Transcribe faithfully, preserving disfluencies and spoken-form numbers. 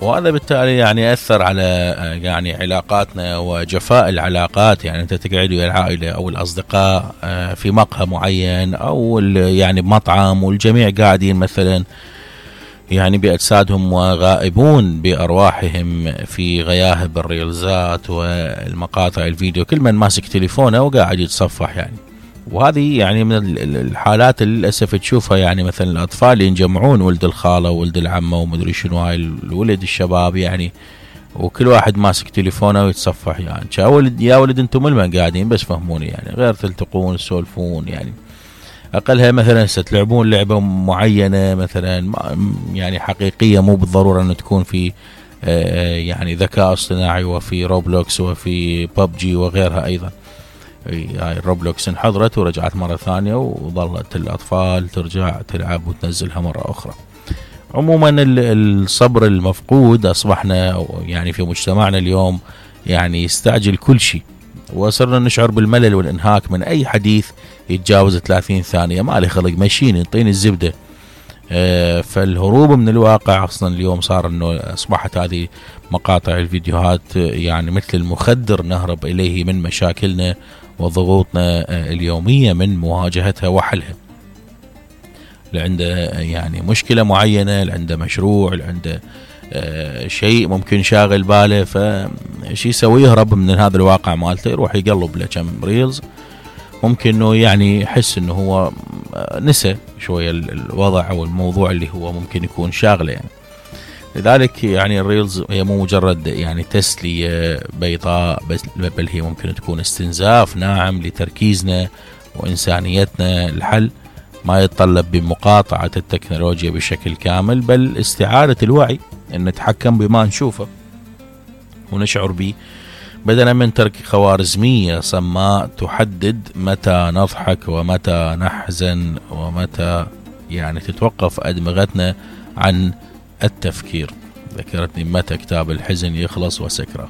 وهذا بالتالي يعني أثر على يعني علاقاتنا وجفاء العلاقات. يعني أنت تقعد ويا العائلة أو الأصدقاء في مقهى معين أو يعني بمطعم والجميع قاعدين مثلا يعني بأجسادهم وغائبون بأرواحهم في غياهب الريلزات والمقاطع الفيديو، كل من ماسك تليفونه وقاعد يتصفح يعني. وهذه يعني من الحالات اللي للأسف تشوفها، يعني مثلا الأطفال ينجمعون ولد الخالة وولد العمة ومدري شنو هاي الولد الشباب يعني، وكل واحد ماسك تليفونه ويتصفح يعني. يا ولد يا ولد انتم من قاعدين بس فهموني يعني، غير تلتقون تسولفون يعني. أقلها مثلا ستلعبون لعبة معينة مثلا يعني حقيقية، مو بالضرورة أن تكون في يعني ذكاء اصطناعي، وفي روبلوكس وفي ببجي وغيرها أيضا. هاي الروبلوكس انحضرت ورجعت مرة ثانية، وظلت الأطفال ترجع تلعب وتنزلها مرة أخرى. عموما الصبر المفقود، أصبحنا يعني في مجتمعنا اليوم يعني يستعجل كل شيء، وصرنا نشعر بالملل والإنهاك من أي حديث يتجاوز ثلاثين ثانية. ما لي خلق مشيني انطيني الزبدة. آه فالهروب من الواقع أصلا اليوم صار أنه أصبحت هذه مقاطع الفيديوهات يعني مثل المخدر نهرب إليه من مشاكلنا وضغوطنا اليومية من مواجهتها وحلها. لعنده يعني مشكلة معينة، لعنده مشروع، لعنده آه شيء ممكن شاغل باله، فشي يسوي يهرب من هذا الواقع مالته، يروح يقلب له كم ريلز، ممكن انه يعني يحس انه هو نسى شوية الوضع او الموضوع اللي هو ممكن يكون شاغله يعني. لذلك يعني الريلز هي مو مجرد يعني تسلية بيضاء بس، بل هي ممكن تكون استنزاف ناعم لتركيزنا وإنسانيتنا. الحل ما يتطلب بمقاطعة التكنولوجيا بشكل كامل، بل استعادة الوعي، أن نتحكم بما نشوفه ونشعر به، بدلا من ترك خوارزمية صماء تحدد متى نضحك ومتى نحزن ومتى يعني تتوقف أدمغتنا عن التفكير. ذكرتني متى كتاب الحزن يخلص وسكره.